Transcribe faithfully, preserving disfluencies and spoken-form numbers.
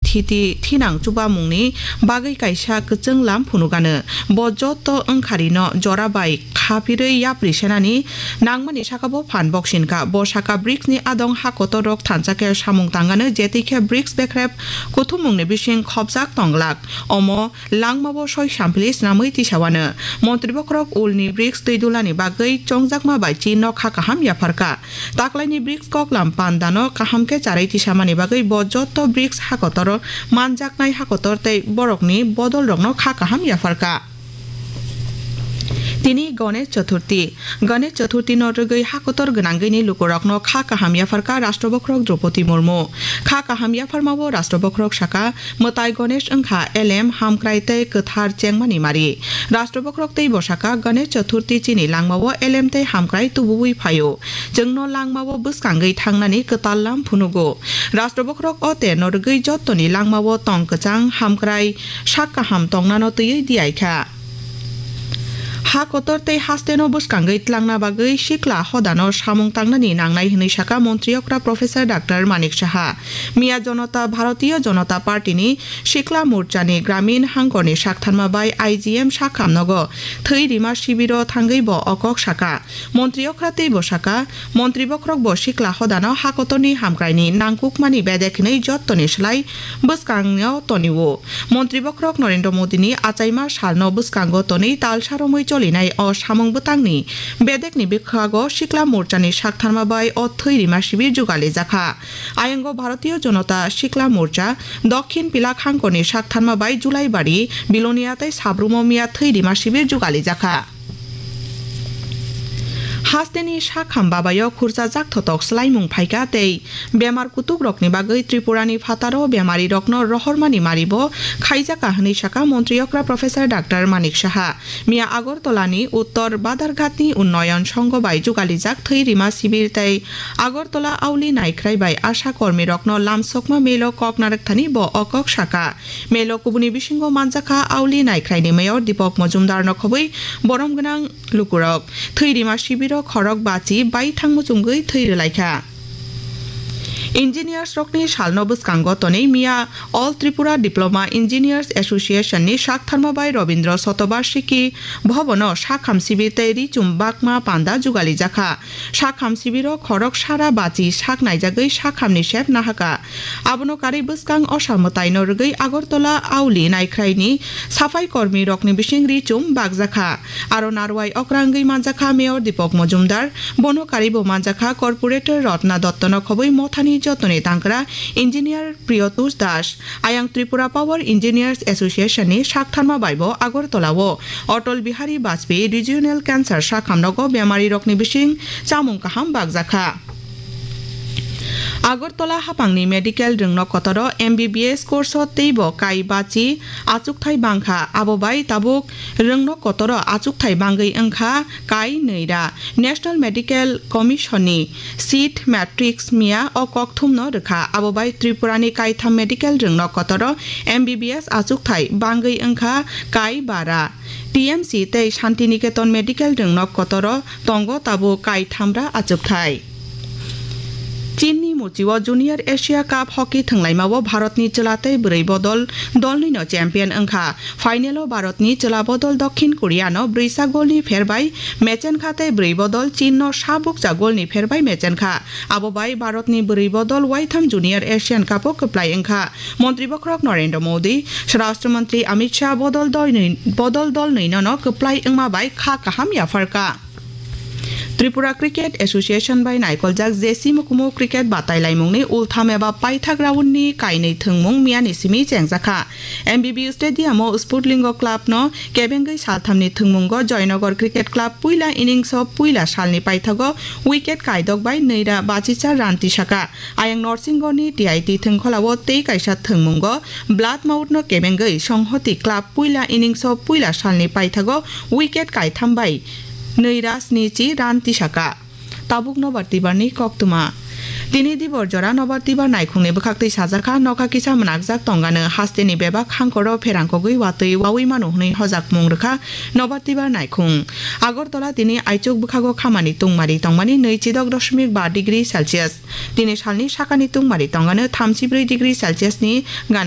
thiti thinang chubamungni bagwi kaisa kwchwng lam phunukgano. Bo joto wngkharino jora bai khapirwi yapri senani nangmani saka bo phan boksinkha. Bo saka brics ni adong ha kotor rok thansa khe samung tangano, jetwi khe brics bekrep kuthumungni bising khopjak tonglak. Omo langmao soi sampli snamwi tisawano. Montri bokhorok ulni brics twi dulani bagwi chongjakma bai chinno kha kaham yapharkha. Taklaini brics koklam pandano kaham khe charwi tisamani bagwi bo joto brics ha kotor manjaknai ha kotor tei borokni bodolrokno kha kaham yapharkha. Tini Ganesh Chaturthi. Ganesh Chaturthi no rwgwi ha kotor gwnangwini lukurokno kha kaham yapharkha Rashtra Bokhorok Droupadi Murmu. Kha kaham yapharmao Rashtra Bokhorok saka, mwtai Ganesh wngkha elem, hamkrai tei kwthar chengmani mari. Rashtra Bokhorok teibo saka, Ganesh Chaturthi chini langmao elem tei hamkrai tubuwi phaio. Chwngno langmao bwskangwi thangnani kwtal lam phunugo. Rashtra Bokhorok o terno rwgwi jottoni langmao tong kwchang, hamkrai, sak kaham tongnano twiwi diyaikha. Ha kotor tei hasteno bwskangwi tlangna bagwi sikla hodano samung tangnani nangnai hwnwi saka Montri okra Professor Doctor Manik Saha. Miya Janata, Bharatiya Janata Party ni Sikla Morcha ni Gramin hangkorni saktharma bai I G M sakham nogo thwi rima sibiro thangwi bo o kok saka. Montri okra teibo saka, Montri bokhorok bo sikla hodano ha kotorni hamkraini nangkukmani bedek hinwi jottoni slai bwskango tonio. Montri bokhorok Narendra Modini achaima salno bwskango tonwi talsa romwi cholinai o samung bwtangni bedekni bwkhago Sikla Morchani saktharma bai o thwi rima sibir jugali jakha. Ayango Bharatiya Janata Sikla Morcha Dokhin Pilak hangkorni saktharma bai Julaibari, Bilonia tei Sabrumo miya thwi rima sibir jugali jakha. Hasteni sakham babayo khurchajak thotok swlaimung phaikha tei bemar kutukrokni bagwi Tripurani phataro bemarirokno rohormani maribo khaijakha hwnwi saka Montri okra Professor Doctor Manik Saha. Miya Agartala ni Uttor Badarghat ni Unnoyon Songho bai jugalijak thwi rima sibir tei Agartala Auli Naikhrai bai asha kormirokno lamsokma melo kok narwkthani bo o kok saka. Melo kubuni bisingo manjakha Auli Naikhraini Mayor Deepak Majumdar no khobwi borom gwnang lukurok. Thwi rima sibiro khorok bachi baithang muchungwi thwi rwlaikha. Engineers rokni salno bwskango tonwi miya All Tripura Diploma Engineers Association ni saktharma bai Robindra Shatobarshiki Bhavan o sakham sibir tei richum bakma panda jugali jakha. Sakham sibiro khorok sara bachi sak naijagwi sakhamni sep nahaka. Abono karwi bwskang osa mwtaino rwgwi Agartala Auli Naikhraini saphai kormi rokni bising richum bakjakha. Aro narwai okra wngwi manjakha Mayor Deepak Majumdar, bono karwi bo manjakha Corporator Ratna Dottono khobwi mothani jotoni tangkra Engineer Priyotush Das. Ayang Tripura Power Engineers Association ni saktharma bai bo Agartala o Atal Bihari Vajpayee Regional Cancer sakhamnogo bemarirokni bising chamung kaham bakjakha. Agartala hapangni medical rwngnok kotoro M B B S course o teibo kai bachi achukthai bangkha, abo bai tabuk rwngnok kotoro achukthai bangwi wngkha kai nwira. National Medical Commission ni seat matrix miya o kokthumno rwkha, abo bai Tripura ni kaitham medical rwngnok kotoro M B B S achukthai bangwi wngkha kai bara. T M C tei Shantiniketan medical rwngnok kotoro tongo tabuk kai thamra achukthai. Chinni muchio Junior Asia Cup hockey thwnglaimao Bharatni chwla tei bwrwi bodol dolnwino champion wngkha. Final-o Bharatni chwla bodol Dokhin Koreano brwisa golni pherbai mechenkha tei bwrwi bodol Chinno sabukcha golni pherbai mechenkha. Abo bai Bharatni bwrwi bodol waitham Junior Asian Cup-o kwplai wngkha. Montri bokhorok Narendra Modi, Swarashtra Mantri Amit Shah bodol dolnwi-, bodol dolnwinono kwplai wngma bai kha kaham yapharkha. Tripura Cricket Association bai naikoljak J C Mukumu cricket batai laimungni ultham eba paithak round ni kainwi thwngmung miyani simi chengjakha. M B B U Stadium o Sputlingo Club no kebengwi salthamni thwngmungo Joynagar Cricket Club puila innings o puila salni paithago wicket kaidok bai nwira bachichar run tisaka. Ayang Norsingoni T I T thwngkholao tei kaisa thwngmungo Bloodmouth no kebengwi Songhoti Club puila innings o puila salni paithago wicket kaitham bai nwira snichi run tisaka. Tabuk nobar tibarni koktwma. Tini dibor jora nobar tibar naikhungni bwkhaktwi sajakha, nokha kisa mwnakjak tongano hasteni bebak hangkoro pherangkogwi watwi wawi mano hwnwi hojakmung rwkha nobar tibar naikhung. Agartala tini aichuk bwkhago khamani tungmari tongmani nwi chidok dosmik ba degree Celsius. Tini salni sakani tungmari tongano thamchi brwi degree Celsius ni gana